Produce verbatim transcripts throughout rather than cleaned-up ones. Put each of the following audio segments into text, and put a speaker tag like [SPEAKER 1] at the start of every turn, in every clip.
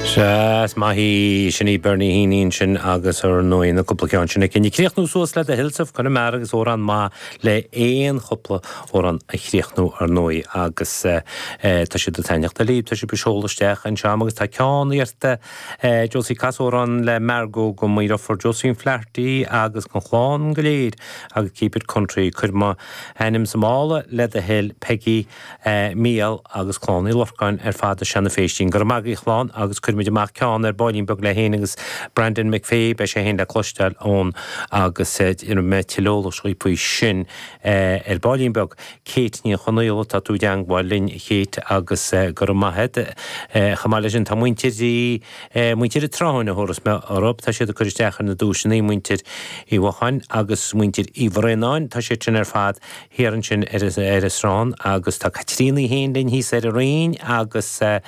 [SPEAKER 1] Sea, is maith í sin í Bernie Heaney sin agus ar ndóigh na cúpla ceann sin aici. Críochnú suas le The Hills of Connemara agus amhrán maith le aon chúpla amhrán a chríochnú ar ndóigh agus tá siad ag taitneamh libh, tá sibh ag seoladh isteach anseo agus tá ceann iarrta Josie cas amhrán le Margot go mo dheirfiúr Josephine Flaherty agus an chlann go léir agus keep it country cuir m'ainm sa mála le do thoil Peggy Mícheál agus Clann Uí Lorcáin ar fad i Seanadh Féistín. Go raibh maith agaibh a chlann agus cuirfimid amach ceann ar baillín beag le héin agus Brandon McVeigh beidh sé féin le cloisteáil ón agus mé tuilleadh eolais faoi sin ar baillín beag. Kate Ní Chonaola tá tú i dteagmháil linn Kate agus go raibh maith agat chomh maith leis sin tá muintir muintir tráin a thuras me orb tá siad ag cur isteach ar na duaiseanna muintir Uí Mhocháin agus muintir Uí Bhraonáin tá siad sin ar fad thiar ansin ar ar an Srán agus tá Caitríona féin linn thíos ar an Rinn agus tá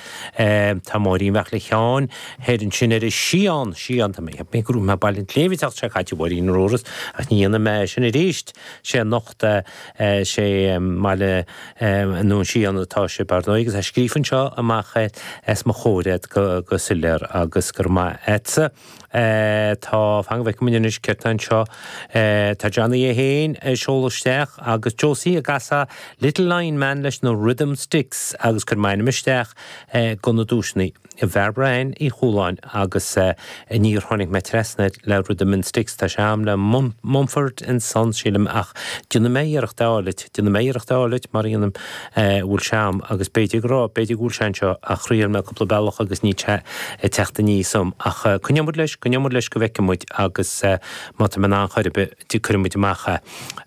[SPEAKER 1] Máirín Bheachla Sheáin thiar ansin ar an Sián Sián tá mé mé go mé bail léimhteach sé caite Mháirín Róras ach ní dhéanfaidh mé sin arís sé anocht sé maille nó an Sián atá sé bar ndóigh agus é scríofa anseo amach as mo chomhair go go soiléir agus gur maith agatsa. Tá fan go bhfeicfidh muid anois céard tá anseo Tá Johnny é féin ag seoladh isteach agus Josie ag casadh Little Lion Man leis na Rhythm Sticks agus cuir m'ainm isteach go na duaiseanna. Barbara Ann Uí Chualáin agus níor tháinig mé trasna le Rhythm and Sticks tá sé am le Mumford and Sons sílim ach déanfaidh mé iarracht a fháil déanfaidh mé iarracht a fháil mar dhéanaim bhfuil sé am agus b'fhéidir go raibh b'fhéidir go bhfuil sé anseo ach thriail mé cúpla bealach agus ní te ag teacht aníos dom ach coinneoidh muid leis coinneoidh muid leis go bhfeicfidh muid agus má tá mé in ann chor ar bith cuirfidh muid amach é.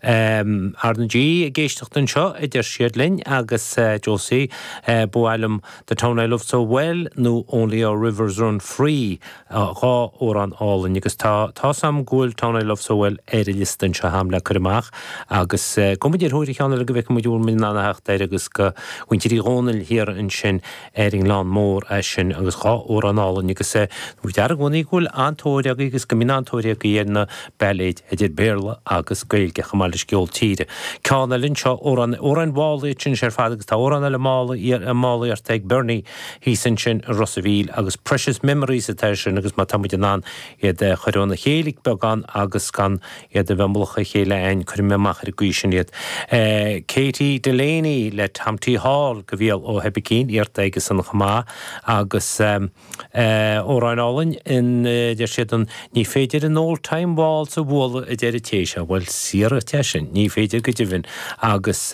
[SPEAKER 1] R na G ag éisteacht anseo a deir siad linn agus Josie ba mhaith liom The Town I Love So Well nó Only Our Rivers Run Free dhá amhrán álainn agus tá tá sam go bhfuil Town I Love So Well ar an liosta anseo agam le cur amach agus go muid ar thóir cheann eile go bhfeicfidh muid bhfuil muid in ann a theacht air agus go mhuintir Uí Dhónaill thiar ansin ar an nGleann Mór é sin agus dhá amhrán álainn agus dear i gcónaí go bhfuil an-tóir agaibh agus go mbíonn an-tóir agaibh ar na bailéid idir Béarla agus Gaeilge chomh maith leis ceol tíre. Ceann eile anseo amhrán amhráin mhála sin ar fad agus tá amhrán eile mála mála iarrta ag Bernie thíos ansin i Ros a' Mhíl agus Precious Memories atá sin agus má tá muid in ann iad a chur óna chéile beagán agus gan iad a bheith mullach a chéile ein cuirfidh mé amach ar an gcaoi sin iad. Katie Delaney le Tom T Hall go bhfial ó Heibicín iarrta aige san chomh maith agus amhrán álainn in deir siad an ní féidir an old time waltz a bhualadh a deir an té seo, bhuel saor é sin, ní féidir go deimhin agus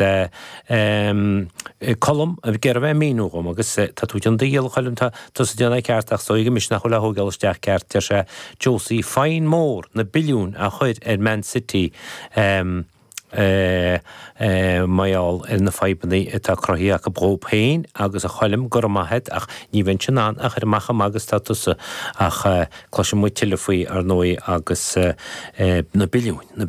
[SPEAKER 1] Colm ag iarraidh bheith míniú dhom agus tá tú déanamh do dhícheall a Choilm tá tusa déanamh ceart ach is dóigh go mise nach bhfuil á thógáil isteach ceart deir sé Josie fine mór na billiúin a chur ar Man City um, mar gheall ar na fadhbanna atá cruthaithe acu dhóibh féin agus a Choilm go raibh maith agat ach ní bheinn in ann a chur amach am agus tá tusa ach cloisfidh muid tuilleadh faoi ar ndóigh agus na billiúin na